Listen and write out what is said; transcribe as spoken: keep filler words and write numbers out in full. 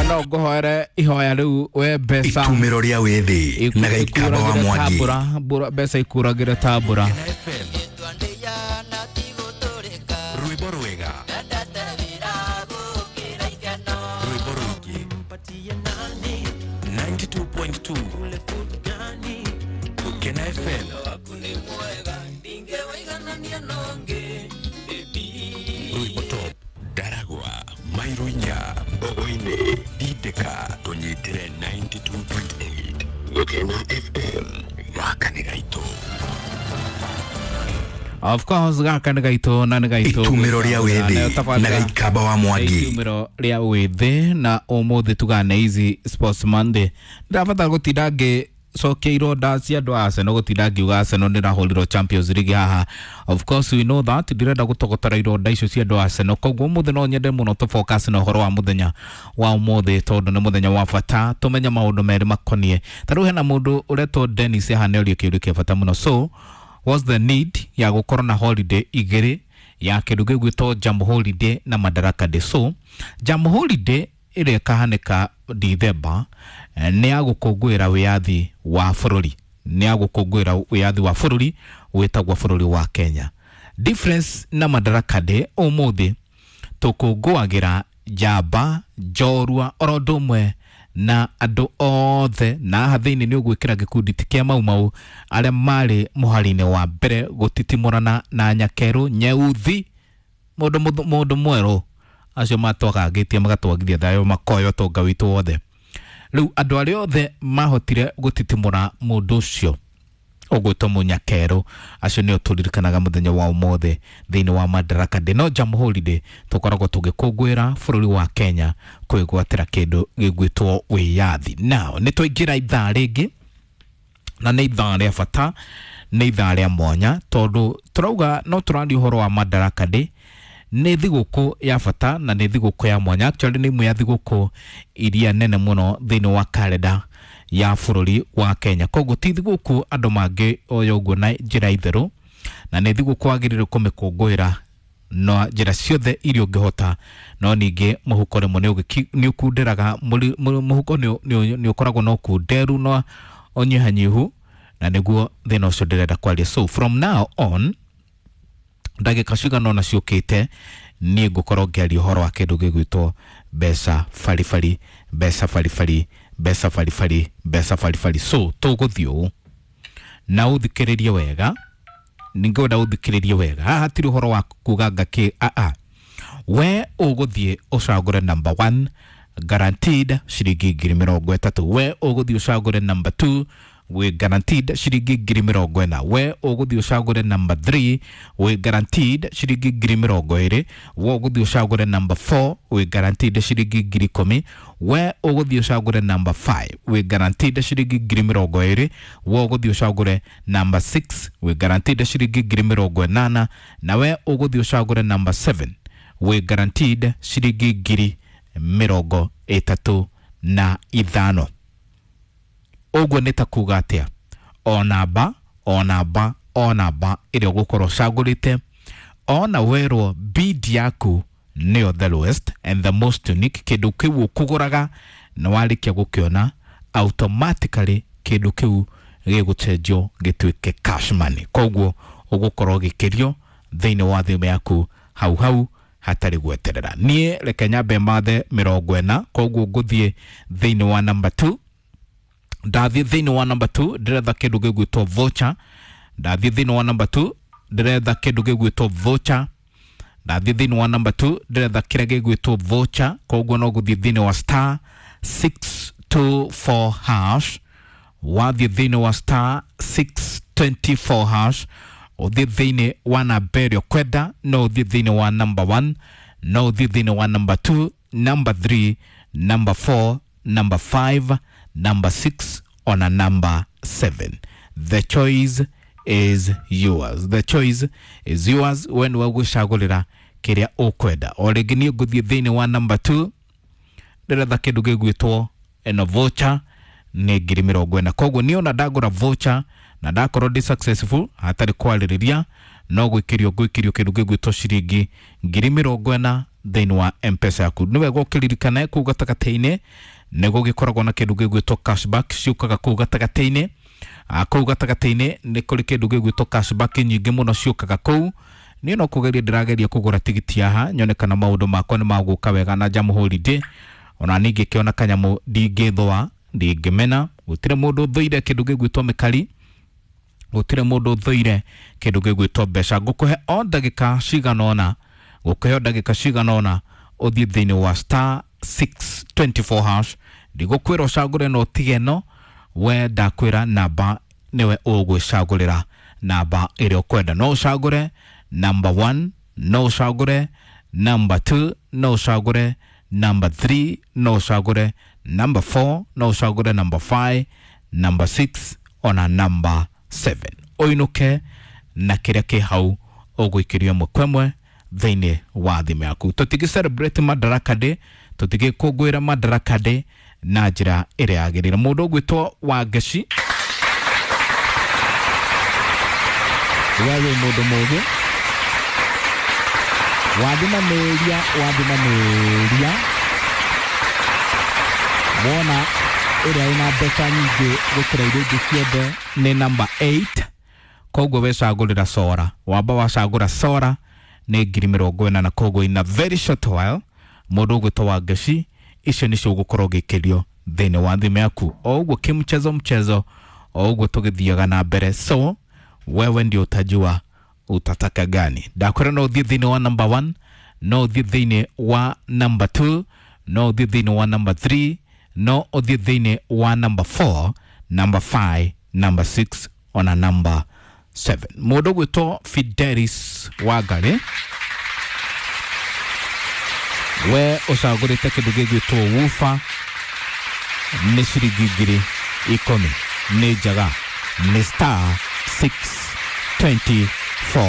No ngũhoere ihoya rĩu we mbeca. Itumĩro rĩa wĩthĩ na Gĩikamba wa Mwangi. Mbura, mbeca ikuragĩre ta mbura. Rwĩmbo rwega, rwĩmbo rũingĩ, ninety-two point two Gũkena F M. Rwĩmbo top Ndaragwa, Mairo inya, Mbogo-inĩ, Ndindĩka, tũnyitĩre ninety-two point eight Gũkena F M. Gaka nĩ gaitũ. Of course, gaka nĩ gaitũ na nĩ gaitũ. Itumĩro rĩa wĩthĩ na Gĩikamba wa Mwangi. Itumĩro rĩa wĩthĩ, na ũmũthĩ tugane ici Sports Monday. Ndĩrabatara gũtinda ngĩcokia ironda cia andũ a Arsenal, gũtinda ngiuga Arsenal nĩrahũrirwo Champions League haha. Of course we know that ndirenda gũtogotera ironda icio cia andũ a Arsenal, koguo ũmũthĩ no nyende mũno tũ focus na ũhoro wa mũthenya wa ũmũthĩ, tondũ nĩ mũthenya wa bata tũmenye maũndũ merĩ makonie. Ta rĩu hena mũndũ ũretwo Dennis haha nĩorio kĩũria kĩa bata mũno: so what's the need ya gũkorwo na holiday igĩrĩ ya kĩndũ gĩgwĩtwo Jam Holiday na Madaraka Day? So Jam Holiday ĩrĩa ĩkahanĩka Dithemba eh, nĩ ya gũkũngũĩra wĩyathi wa bũrũri, nĩ ya gũkũngũĩra wĩyathi wa bũrũri wĩtagwo bũrũri wa Kenya. Difference na Madaraka Day, ũmũthĩ tũkũngũagĩra njamba njorua oro ũndũ ũmwe na andũ othe, na haha thĩinĩ nĩ ũgwĩkĩra gĩkundi ti kĩa Mau Mau, arĩa marĩ mũhari-inĩ wa mbere gũtitimũrana na nyakerũ nyeuthi, mũndũ mũthũ- mũndũ mwerũ, acio matwagagĩtie magatwagithia thayũ, makoya ũtonga witũ wothe. Rĩu andũ arĩa othe mahotire gũtitimũra mũndũ ũcio ũgwĩtwo mũnyakerũ, acio nĩo tũririkanaga mũthenya wa ũmũthĩ thĩinĩ wa Madaraka Day. No Jam Holiday tũkoragwo tũgĩkũngũĩra bũrũri wa Kenya kwĩgwatĩra kĩndũ gĩgwĩtwo wĩyathi. Now nĩ twaingĩra ithaa rĩngĩ, na nĩ ithaa rĩa bata, nĩ ithaa rĩa mwanya, tondũ tũrauga no tũraria ũhoro wa Madaraka Day. Nĩ thigũkũ ya bata na nĩ thigũkũ ya mwanya. Actually nĩ imwe ya thigũkũ iria nene mũno thĩinĩ wa kalenda ya bũrũri wa Kenya, koguo ti thigũkũ andũ mangĩ oya ũguo na njĩra itherũ, na nĩ thigũkũ wagĩrĩirwo kũmĩkũngũĩra na njĩra ciothe iria ũngĩhota. No ningĩ mũhuko rĩmwe nĩ ũgĩki- nĩ ũkunderaga, mũri- mũri- mũhuko nĩ nĩ- nĩ ũkoragwo na ũkunderu na ũnyihanyihu, na nĩguo thĩna ũcio ndĩrenda kwaria. So from now on, ndagĩka cigana ũna ciũkĩte, niĩ ngũkorwo ngĩaria ũhoro wa kĩndũ gĩgwĩtwo mbeca baribari, mbeca baribari, mbeca baribari, mbeca baribari. So tũgũthiĩ ũũ, na ũthikĩrĩrie wega, ningĩenda ũthikĩrĩrie wega. Haha hatirĩ ũhoro wa kuga ngakĩ aa. We ũgũthiĩ ũcagũre number one, guaranteed ciringi ngiri mĩrongo ĩtatũ. We ũgũthiĩ ũcagũre number two, wĩ guaranteed ciringi ngiri mĩrongo ĩna. We ũgũthiĩ ũcagũre number three, wĩ guaranteed ciringi ngiri mĩrongo ĩrĩ. We ũgũthiĩ ũcagũre number four, wĩ guaranteed ciringi ngiri ikũmi. We ũgũthiĩ ũcagũre number five, wĩ guaranteed ciringi ngiri mĩrongo ĩrĩ. We ũgũthiĩ ũcagũre number six, wĩ guaranteed ciringi ngiri mĩrongo ĩnana. Na we ũgũthiĩ ũcagũre number seven, wĩ guaranteed ciringi ngiri mĩrongo ĩtatũ na ithano. Ũguo nĩ ta kuga atĩa? O namba, o namba, o namba ĩrĩa ũgũkorwo ũcagũrĩte, ona werwo bid yaku nĩyo the lowest and the most unique, kĩndũ kĩu ũkũgũraga na warĩkia gũkĩona, automatically kĩndũ kĩu gĩgũcenjio gĩtuĩke cash money. Koguo ũgũkorwo ũgĩkĩrio thĩinĩ wa thimũ yaku hau hau hatarĩ gweterera. Niĩ reke nyambe mathe mĩrongo ĩna, koguo ngũthiĩ thĩinĩ wa number two. Ndathiĩ thĩinĩ wa number two, ndĩretha kĩndũ gĩgwĩtwo voucher. Ndathiĩ thĩinĩ wa number two, ndĩretha kĩndũ gĩgwĩtwo voucher. Ndathiĩ thĩinĩ wa number two, ndĩretha kĩrĩa gĩgwĩtwo voucher. Koguo no gũthiĩ thĩinĩ wa star six two four hash. Wathiĩ thĩinĩ wa star six two four hash, ũthiĩ thĩinĩ wa namba ĩrĩa ũkwenda. No ũthiĩ thĩinĩ wa number one, no ũthiĩ thĩinĩ wa number two, number three, number four, number five, number six, ona number seven. The choice is yours, the choice is yours. We nĩwe ũgwĩcagũrĩra kĩrĩa ũkwenda. O rĩngĩ niĩ ngũthiĩ thĩinĩ wa number two, ndĩretha kĩndũ gĩgwĩtwo ĩno voucher, nĩ ngiri mĩrongo ĩna. Koguo niĩ ona ndagũra voucher na ndakorwo ndĩ successful, hatarĩ kwarĩrĩria, no gwĩkĩrio ngwĩkĩrio kĩndũ gĩgwĩtwo ciringi ngiri mĩrongo ĩna. Thĩinĩ wa Mpesa yaku. Nĩ wega ũkĩririkane kũu gatagatĩ-inĩ nĩ gũgĩkoragwo na kĩndũ gĩgwĩtwo cashback ciũkaga kũu gatagatĩ-inĩ. Kũu gatagatĩ-inĩ nĩ kũrĩ kĩndũ gĩgwĩtwo cashback nyingĩ mũno ciũkaga kũu. Niĩ no kũgeria ndĩrageria kũgũra tigiti haha nyone kana maũndũ makwa nĩ magũka wega na Jam Holiday. Ona niĩ ngĩkĩona kanyamũ ndingĩthũa, ndingĩmena. Gũtirĩ mũndũ ũthũire kĩndũ gĩgwĩtwo mĩkari, gũtirĩ mũndũ ũthũire kĩndũ gĩgwĩtwo mbeca. Ngũkũhe o ndagĩka cigana ũna, ngũkũhe o ndagĩka cigana ũna ũthiĩ thĩinĩ wa star six twenty four hash. Ndigũkwĩra ũcagũre no ũtige no, we ndakwĩra namba nĩwe ũgwĩcagũrĩra namba ĩrĩa ũkwenda. No ũcagũre number one, no ũcagũre number two, no ũcagũre number three, no ũcagũre number four, no ũcagũre number five, number six ona number seven. Ũinũke na kĩrĩa kĩ hau ũgũikĩrio ĩmwe kwa ĩmwe thĩinĩ wa thimũ yaku. Tũtingĩ celebrate Madaraka Day, tũtingĩkũngũĩra Madaraka Day na njĩra ĩrĩa yagĩrĩire. Mũndũ ũgwĩtwo Wangeci, we wĩ mũndũ mũũgĩ, wathimanĩria, wathimanĩria wona ĩrĩa ĩna mbeca nyingĩ gũkĩra iria ingĩ ciothe nĩ number eight. Koguo wecagũrĩra Sora, wamba wacagũra Sora nĩ ngiri mĩrongo ĩna, na koguo in a very short while mũndũ ũgwĩtwo Wangeci icio nĩcio ũgũkorwo ũgĩkĩrio thĩinĩ wa thimũ yaku. O ũguo kimchezo mchezo, o ũguo tũgĩthiaga na mbere. So wewe ndio utajua utataka gani. Ndakwĩra no ũthiĩ thĩinĩ wa number one, no ũthiĩ thĩinĩ wa number two, no ũthiĩ thĩinĩ wa number three, no ũthiĩ thĩinĩ wa number four, number five, number six ona number seven. Mũndũ ũgwĩtwo Fidelis Wangari, we ũcagũrĩte kĩndũ gĩgwĩtwo woofer nĩ ciringi ngiri ikũmi, nĩ njega, nĩ star six twenty